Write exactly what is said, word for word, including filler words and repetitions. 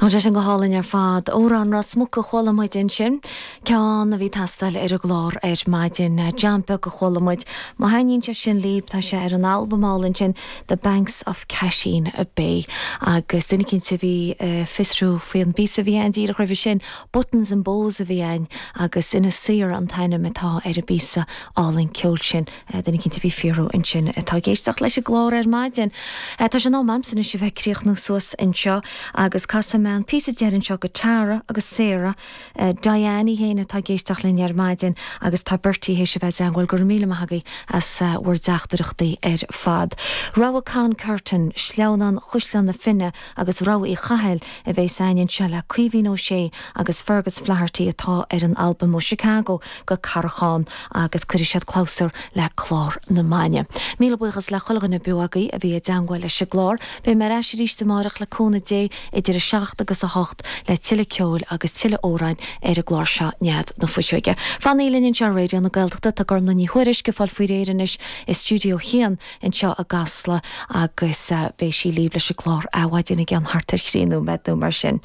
Tá sé sin go hálainn ar fad Amhrán Ros Muc a chuala muid ansin ceann a bhí ag teastáil ar an gclár ar maidin Jam beag a chuala muid Má thaitníonn sé sin libh tá sé ar an albam álainn sin The Banks of Casheen Bay agus duine éicint a bhí uh, fiosrú faoi an bpíosa a bhí ann díreach roimhe sin Buttons and Bows a bhí ann agus Inis Oírr an t-ainm atá ar an bpíosa álainn ceoil sin uh, duine éicint a bhí ag fiosrú ansin atá ag éisteacht leis an gclár ar maidin. Uh, tá sé in am a'msa anois a bheith ag críochnú suas anseo agus casfaidh mé an píosa deireanach seo go Tara agus Sarah uh, Diane féin atá ag éisteacht linn ar maidin agus tá Bertie théis a bheith i dteagmháil go raibh míle maith agaibh as uh, bhur dteachtaireachtaí ar fad. Rogha Con Curtin, Sleamhnán Chaisleán na Finne agus Rogha Uí Chathail a bheas againn anseo le Caoimhín Ó Sé agus Fergus Flaherty atá ar an albam ó Chicago go Carachán agus cuirfidh siad clabhsúr le clár na maidine. Míle buíochas le chuile dhuine beo agaibh a bhí i dteagmháil leis an gclár, Beidh mé ar ais arís amárach le cúnamh Dé idir a seacht agus a hocht le tuilleadh ceoil agus tuilleadh amhrán ar an gclár seo Nead na Fuiseoige. Fanaigí linn anseo Raidió na Gaeltachta tá Gormlaith Ní Thuairisg ag fáil faoi réir anois i stiúideo a haon anseo i gCasla agus uh, beidh sí libh leis an gclár Adhmhaidin i gceann thart ar thrí nóiméad nó mar sin.